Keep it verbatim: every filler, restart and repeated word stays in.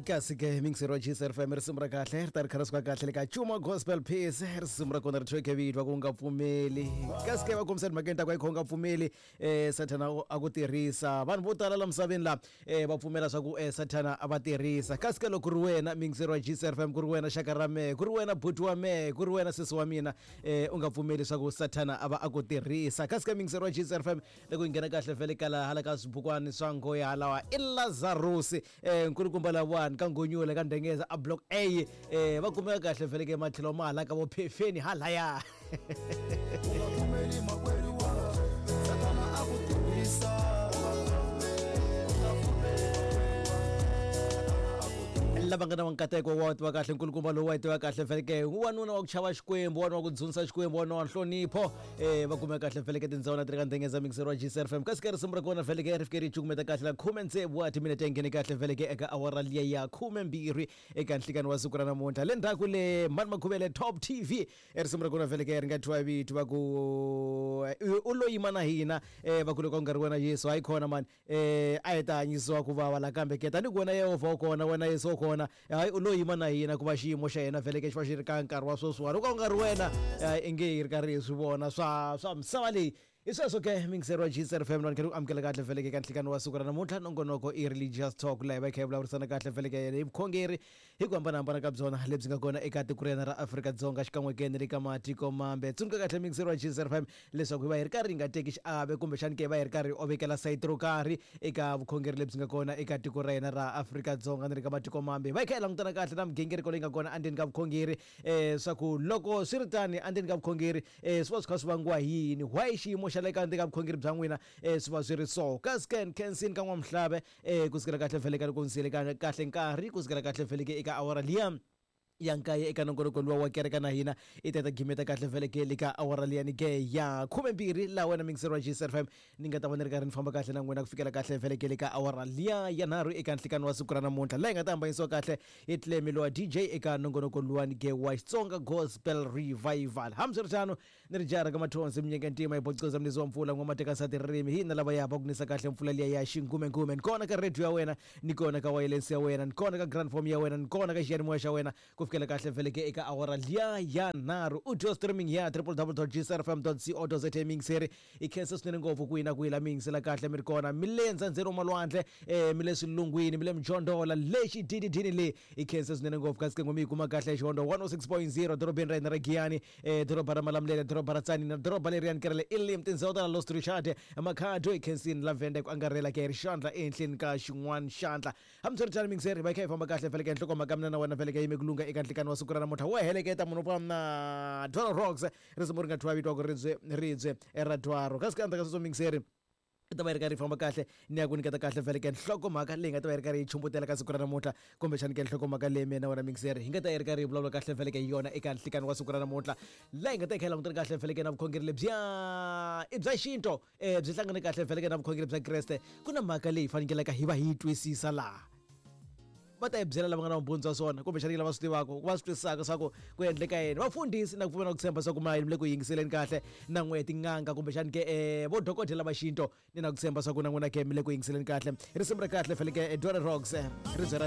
Kasi ke mixer wa G S F M risimu ra kahle ri ta ri kha ri suka kahle le ka Chuma Gospel Peace risimu ra kona ri thyoke vitwa ku nga pfumeli kasi ke va kombisa timhakeni ta ku a yi kha u nga pfumeli um sathana a ku tirhisa vanhu vo tala la misaveni la um va pfumela swa ku um sathana a va tirhisa kasi ke loko ku ri wena mixer wa G S F M ku ri wena xaka ra mehe ku ri wena buti wa mehe ku ri wena sesi wa mina um u nga pfumeli swa ku sathana a va a ku tirhisa kasi ke mixer wa G S F M loko yi nghena kahle vhele kala hala ka swibukwani swa ngoya halawa i Lazarus um nkulukumba lawani ka Ngonyula ka Ndengeza a block A eh va kumeka kahle vhele ke matlhelo ma hala ka vo phefeni halaya u nga pfumeli makwerhu wa Sathana a ku tirhisa lava nga na nkateko wa tiva kahle nkulukumba lowu wa tiva kahle vhele ke wanuna wa ku chava Xikwembu wanuna wa ku dzunisa Xikwembu wanuna wa nhlonipho eh va kumeka kahle vhele ke tindhawu na ti ri ka Ndengeza mixer wa G S F M kasi ke risimu ra kona vhele ke ri fike ri cukumeta kahle la khume tsevu wa timinete yi nghene kahle vhele ke eka awara liya ya khume mbirhi eka nhlikani wa siku ra namuntlha le ndzhaku le mani Makhuvele Top T V risimu ra kona vhele ke ri nga thyiwa vito va ku u lo yima na hina eh va ku loko u nga ri wena Yesu hayi khona mani eh a hi ta hanyisiwa ku vava la kambe ke tanihi ku wena Yehovha u kona wena Yesu u kona hayi u lo yima na hina ku va xiyimo xa hina vhele ke xi va xi ri ka nkarhi wa sweswiwani loko u nga ri wena i nge hi ri karhi hi swi vona swa swa misava leyi hi sweswo ke mixer wa G S F M ni kha ku amukela kahle vhele ke ka nhlikani wa siku ra namuntlha nongonoko i Religious Talk laha hi va hi kha hi vulavurisana kahle vhele ke hi vukhongeri hi ku hambanahambana ka byona lebyi nga kona eka tiko ra hina ra Afrika-Dzonga xikan'we ke ni le ka matiko mambe tsundzuka kahle mixer wa G S F M leswaku hi va hi ri karhi hi nga teki xiave kumbexani ke hi va hi ri karhi hi ovekela sayiti ro karhi eka vukhongeri lebyi nga kona eka tiko ra hina ra Afrika-Dzonga ni le ka matiko mambe hi va hi kha hi langutana kahle na migingiriko leyi nga kona endzeni ka vukhongeri um swa ku loko swi ri tani endzeni ka vukhongeri um swi va swi kha swi vangiwa hi yini why xiyimo xa le ka ndzeni ka vukhongeri bya n'wina um swi va swi ri so kasi ke Khensin ka N'wamhlave um ku sukela kahle vhele ka loko ndzi kahle nkarhi ku sukela kahle vhele ke eka awara liya ya nkaye eka nongonoko luwa wa kereka na hina i ta ta gimeta kahle vhele ke le ka awara liyani ke ya khume mbirhi laha wena mixer wa G S F M ni nga ta va ni ri karhi ni famba kahle na n'wina ku fikela kahle vhele ke le ka awara liya ya nharhu eka nhlikani wa siku ra namuntlha laha hi nga ta hambanyisiwa kahle hi Tlemi lowa D J eka nongonoko luwani ke wa Xitsonga Gospel Revival hambiswiritano ni ri jara ka mathonsi minyenge ntima hi bocoza mnizi wa mpfula n'wamatekasati ririmi hina lava ya va ku nisa kahle mpfula liya ya xingumengume ni kona ka radio ya wena ni kona ka wireless ya wena ni kona ka grand form ya wena ni kona ka xiyanimoya xa wena ku fikela kahle vhele ke eka awara liya ya nharhu audio streaming ya w w w dot g s r f m dot co dot za mixer i khensa swinene ngopfu ku yina ku yila mixela kahle mi ri kona mi le ndzandzeni wa malwandle um mi le swilungwini mi le mjondhola lexi dididini le i khensa swinene ngopfu kasi ke n'we mi yi kuma kahle xihondo one oh six point zero dorobeni ra hina ra Giyani um doroba ra Malamulele doroba ra Tzaneen na doroba leriyani kerele Elim tindhawu ta la Lost Richard Makhado i khensini la Venda ku angarhela ke ri xandla ehenhleni ka xin'wana xandla hambiswiritano mixer hi va hi kha hi famba kahle vhele ke nhlokomhaka mina na wena vhele ke yime ku lunga eka nhlikani wa siku ra namuntlha wo heleketa munhu wa na Dollar Rocks risimu ri nga thyiwa vito wa ku ribye ribye ra dwaro kasi ka endzhaku ka sweswo mixer i ta va yi ri karhi yi famba kahle ni ya ku nyiketa kahle vhele ke nhlokomhaka leyi nga ta va yi ri karhi yi chumbutela ka siku ra namuntlha kumbexani ke nhlokomhaka leyi mina wena mixer hi nga ta yi ri karhi hi vulavula kahle vhele ke hi yona eka nhlikani wa siku ra namuntlha laha hi nga ta yi kha hi langutana kahle vhele ke na vukhongeri lebyiya i bya xinto um byi hlangane kahle vhele ke na vukhongeri bya Kreste ku na mhaka leyi fanekelaka hi va hi yi twisisa laha va ta hi byela lava nga na vumbhoni bya swona kumbexani lava swi tivaka va swi twisisaka swa ku ku endleka yini vafundhisi na ku pfumela ku tshemba swa ku ma mi le ku yingiseleni kahle na n'we tin'anga kumbexani ke um vo dokodela va xinto ni na ku tshemba swa ku na n'wina ke mi le ku yingiseleni kahle risimu ra kahle faneke Dollar Rocks ribye ra